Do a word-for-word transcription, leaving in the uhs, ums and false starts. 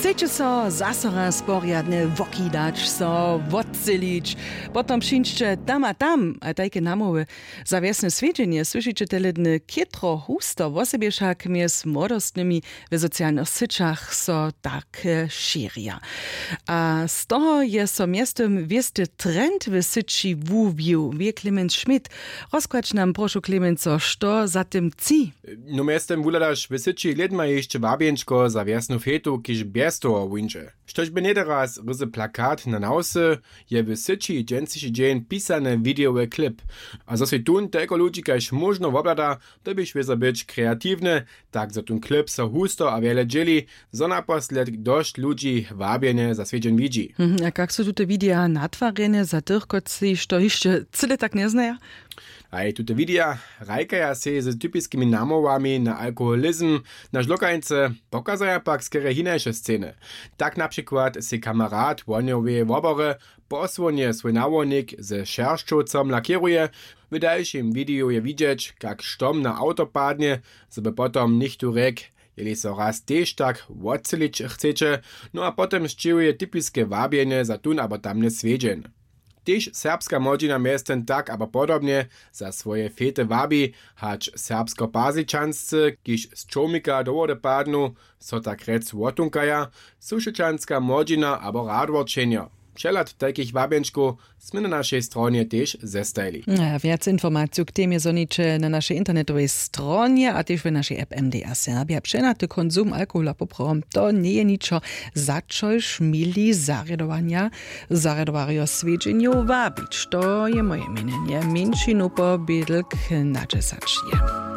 Chceće so zaso raz porjadnje wokidać, so wotselić, potom přińdźće tam a tam a tajke namołwy. Za wjesne swjedźenje słyšiće teledny chětro husto, wosebje wšak mjez młodostnymi w socialnych syćach so tak šěrja. A z toho je so mjeztym wěsty trend w syći wuwił, wě clemens schmidt. Rozkładź nam prošu clemenco, što za tym tci? No mjeztym wuhladaš w syći lědma hišće wabjenčko za wjesnu fetu, kiž bjez toho wuńdźe. Štož by něteraz ryzy plakat na nawsy, je w syći dźensniši dźeń pisany widejowy klip. A zo sej tón telko ludźi kaž móžno wobhlada, dyrbiš wězo być kreatiwny, tak zo tón klip so husto a wjele dźěli, zo naposledk dosć ludźi wabjenje za swjedźeń widźi. Mhm, a kak su tute wideja natwarjene za tych, kotřiž to hišće cyle tak njeznaja? Haj, tute wideja hrajkaja sej z typiskimi namołwami na alkoholizm, na žlokańce, pokazaja pak skerje hinaše sceny. Tak na přikład sej kamerat wohnjoweje wobory posłonje swój nawołnik ze šeršćowcom lakěruje. W dalšim wideju je widźeć, kak štom na awto padnje, zo by potom něchtó rjekł: „Jeli so raz tež tak wotselić chceće“. No a potom sćěhuje typiske wabjenje za tón abo tamny swjedźeń. Tež serbska młodźina mjeztym tak abo podobnje za swoje fety wabi, hač serbskopazličanscy, kiž z čołmika do wody padnu, so tak rjec wotunkaja, sušećanska młodźina abo radworčenjo. Přehlad tajkich wabjenčkow smy na našej stronje tež zestajili. A wjac informaciju k temje zhoniće na našej internetowej stronje a tež w našej app M D A Serbia. Přehnady konsum alkohola poprawom to njeje ničo, za čož měli zarjadowanja, zarjadowarjo swjedźenjow wabić. To je moje měnjenje. Mjeńšinu pobědlk na dźesać je.